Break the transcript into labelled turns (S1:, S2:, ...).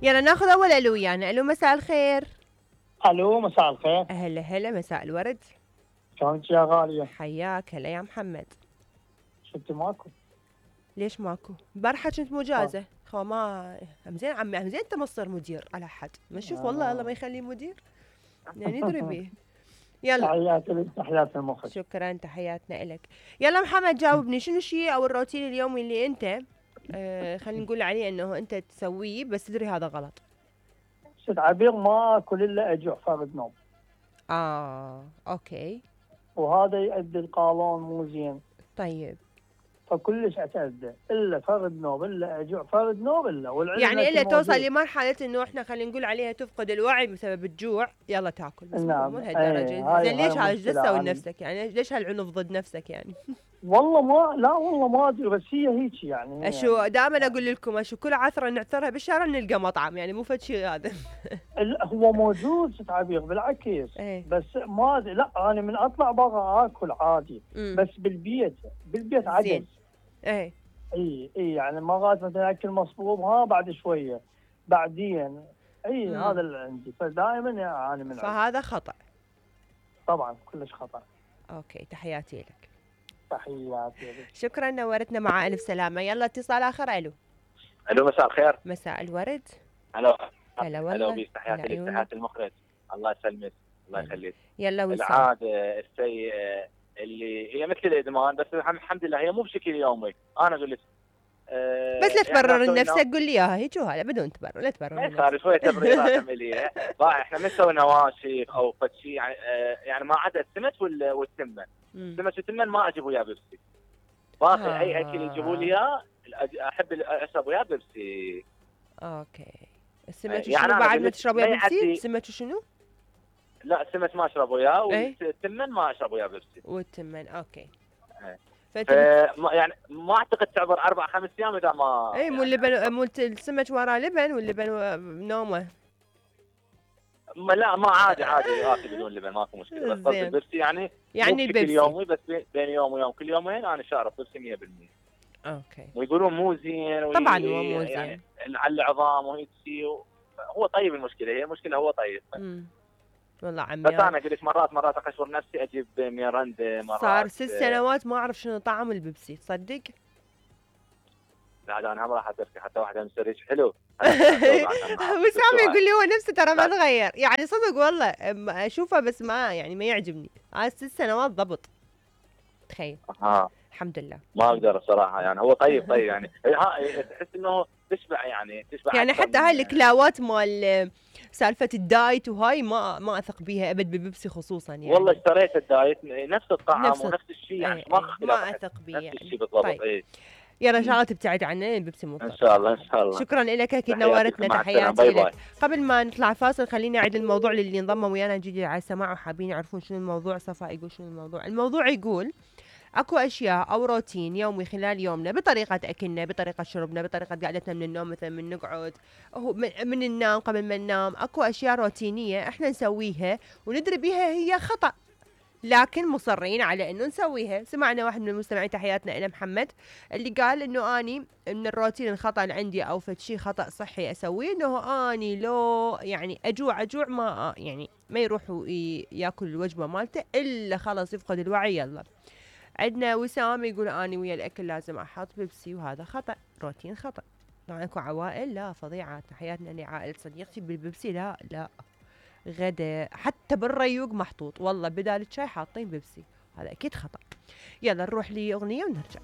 S1: يلا ناخذ اول الو ويانا. الو مساء الخير.
S2: الو مساء الخير.
S1: هلا هلا مساء الورد.
S2: شلونك يا غالية؟
S1: حياك. هلا يا محمد.
S2: شفتي ماكو؟
S1: ليش ماكو؟ البارحة كنت مجازة. خو ما همزين عمي، همزين انت ما تصير مدير على حد، ما تشوف والله الله ما يخليه مدير. يعني ندري بيه. يلا
S2: تحياتي لك، تحياتي المخرج.
S1: شكرا، تحياتنا إلك. يلا محمد جاوبني، شنو الشيء او الروتين اليومي اللي انت خلينا نقول عليه انه انت تسويه بس تدري هذا غلط؟
S2: ست عبير ما اكل الا اجوع فرد نوم.
S1: اوكي.
S2: وهذا يؤدي القولون مو زين.
S1: طيب.
S2: فكلش اتأذى الا فرد نوم، الا اجوع فرد نوم الا والعلم
S1: يعني الا توصل لمرحلة انه احنا خلينا نقول عليها تفقد الوعي بسبب الجوع، يلا تاكل بس
S2: نعم.
S1: مو لهالدرجة. زين ليش هاي تسوي لنفسك؟ يعني ليش هالعنف ضد نفسك يعني؟
S2: والله ما لا والله ما ادري، بس هي هيك يعني.
S1: اشو يعني دائما اقول لكم اشو كل عثره نعثرها بالشارع نلقى مطعم، يعني مو فد شيء هذا.
S2: هو موجود ست عبير بالعكس.
S1: ايه.
S2: بس ما لا انا من اطلع برا اكل عادي. بس بالبيت عدس.
S1: ايه.
S2: اي يعني مرات مثلا اكل مصبوب بعد شويه بعدين. هذا اللي عندي، فدائما اعاني من
S1: فهذا خطأ.
S2: طبعا كلش خطأ.
S1: اوكي، تحياتي لك.
S2: تحياتي لك.
S1: شكرا، نورتنا مع الف سلامه. يلا اتصال اخر. الو.
S3: الو مساء الخير.
S1: مساء الورد.
S3: هلا
S1: هلا والله.
S3: هلا بيك، تحياتي لك، تحياتي المخرج. الله يسلمك، الله يخليك.
S1: يلا وسام.
S3: العاده السيئه اللي هي مثل الادمان، بس الحمد لله هي مو بشكل يومي. انا اقول لك
S1: بس لا تبرر لنفسك، قول لي اياها هيك وهلا بدون تبرر، لا تبرر
S3: لنفسك. ما صار شويه تبريرات عمليه. احنا ما نسوي نواشف او فد شيء يعني ما عدا السمك والتمن. السمك والتمن ما اجيب وياه بيبسي. باقي اي اكل يجيبوا لي اياه احب اشرب وياه بيبسي.
S1: اوكي. السمك
S3: يعني
S1: شنو بعد ما تشرب وياه بيبسي؟ السمك شنو؟
S3: لا السمك ما اشرب وياه، والتمن ما اشرب وياه بيبسي.
S1: والتمن اوكي.
S3: يعني ما اعتقد تعبر 4-5 ايام اذا ما
S1: مو اللبن، مو السمك وراه لبن واللبن نومه.
S3: لا ما عادي اكل بدون لبن ماكو مشكله، بس قصدي البيبسي يعني
S1: البيبسي
S3: يومي، بس بين يوم ويوم كل يومين انا شارب بيبسي 100%.
S1: اوكي.
S3: ويقولون مو زين
S1: طبعا هو مو زين
S3: يعني على العظام وهيك شيء. هو طيب، هي المشكله هو طيب.
S1: والله عمي
S3: بس انا قلت مرات اقشر نفسي اجيب ميرندا. مرات
S1: صار 6 سنوات ما اعرف شنو طعم البيبسي، تصدق؟
S3: لا انا هم راح اتركه، حتى واحده من سريج حلو.
S1: وسام يقول لي هو نفسه ترى ما تغير، يعني صدق والله اشوفه بس ما يعني ما يعجبني. 6 سنوات ضبط، تخيل. الحمد لله.
S3: ما اقدر الصراحه، يعني هو طيب يعني تحس انه تشبع، يعني
S1: حتى هاي الكلاوات مال سالفه الدايت وهاي ما اثق بيها ابد، ببيبسي خصوصا يعني.
S3: والله اشتريت الدايت نفس الطعم ونفس الشيء، يعني
S1: ما اثق بيه
S3: نفس
S1: يعني.
S3: الشيء بالضبط.
S1: طيب. يلا ان شاء الله تبتعد عنه البيبسي مو
S3: ان شاء الله ان شاء الله.
S1: شكرا لك، اكيد نورتنا، تحياتي لك. قبل ما نطلع فاصل خليني اعيد الموضوع للي انضموا ويانا جديد على السماع وحابين يعرفون شنو الموضوع. صفاء يقول شنو الموضوع يقول اكو اشياء او روتين يومي خلال يومنا، بطريقه اكلنا، بطريقه شربنا، بطريقه قعدتنا من النوم، مثلا من نقعد من ننام، قبل ما ننام اكو اشياء روتينيه احنا نسويها وندري بيها هي خطا، لكن مصرين على انه نسويها. سمعنا واحد من المستمعين، تحياتنا الى محمد، اللي قال انه اني من الروتين الخطا اللي عندي او فد شيء خطا صحي اسويه، انه اني لو يعني اجوع ما يعني ما يروح ياكل الوجبه مالته الا خلص يفقد الوعي. يلا عندنا وسام يقول اني ويا الاكل لازم احط بيبسي، وهذا خطا، روتين خطا. طبعا اكو عوائل لا فظيعه، تحياتنا لعائله صديقتي بالبيبسي لا غدا حتى بالريوق محطوط، والله بدال الشاي حاطين بيبسي، هذا اكيد خطا. يلا نروح لاغنيه ونرجع.